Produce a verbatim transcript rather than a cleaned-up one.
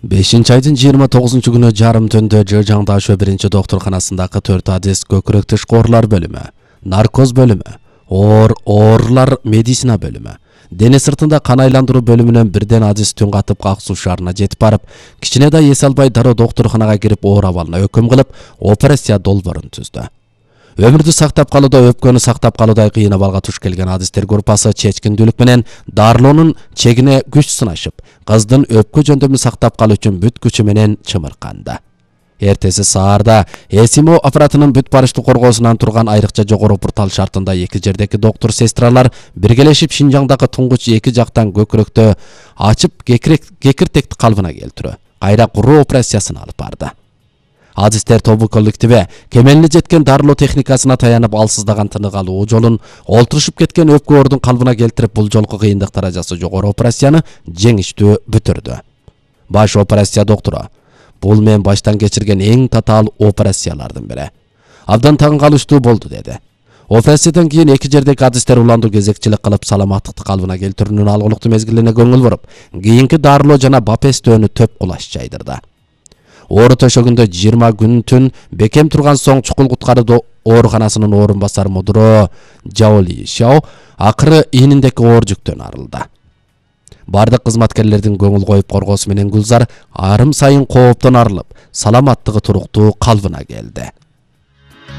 бешинчи айдын жыйырма тогузунчу күнү жарым түндө Жыжаң Дашө биринчи доктурканасындагы төрт адис көкүрөк тышкы оорулар бөлүмү, наркоз бөлүмү, оор оорлар медицина бөлүмү, дене сыртында кан айландыруу бөлүмүнөн бирден адис түн катып каксуу шаарына жетип барып, кичине да эс албай дароо доктурканага кирип оор абалына өкүм кылып, операция долбоорун түздү. Өмүрдү сактап калууда өпкөнү сактап калуудай кыйын абалга туш келген адистер группасы чечкиндүүлүк менен дарылоонун чегине күч сынашып, кыздын өпкө жөндөмүн сактап калуу үчүн бүт күчү менен чымырканды. Эртеси саарда эсимо аппаратынын бүт барыштуу коргоосунан турган айрыкча жогору портал шартында эки жердеки доктур сестралар биргелешип Шинжаңдагы туңгуч эки жактан көкүрөктө ачып кекиртекти калыбына келтирүү, кайра куруу операциясын алып барды. Адистер тобу коллективи кемелине жеткен дарылоо техникасына таянып алсыздаган тынык алуу жолун олтурушуп кеткен өпкө оордун калыбына келтирип, бул жолку кыйындык даражасы жогору операцияны жеңиштүү бүтүрдү. Баш операция доктору: бул мен баштан кечирген эң татаал операциялардын бири. Абдан таң калыштуу болду, деди. Операциядан кийин эки жердеки адистер уландуу кезекчилик кылып, саламаттыкты калыбына келтирүүнүн алгылыктуу мезгилине көңүл буруп, кийинки дарылоо жана бапестөөнү төп кулаш жайдырды. Оору төшөгүндө жыйырма күн түн бекем турган соң чукул куткаруу ооруканасынын орун басар мудуроо Жаоли Шао акыры ийниндеки оор жүктөн арылды. Бардык кызматкерлердин көңүл коюп коргоосу менен Гүлзар арым сайын кооптон арылып, саламаттыгы туруктуу калыбына келди.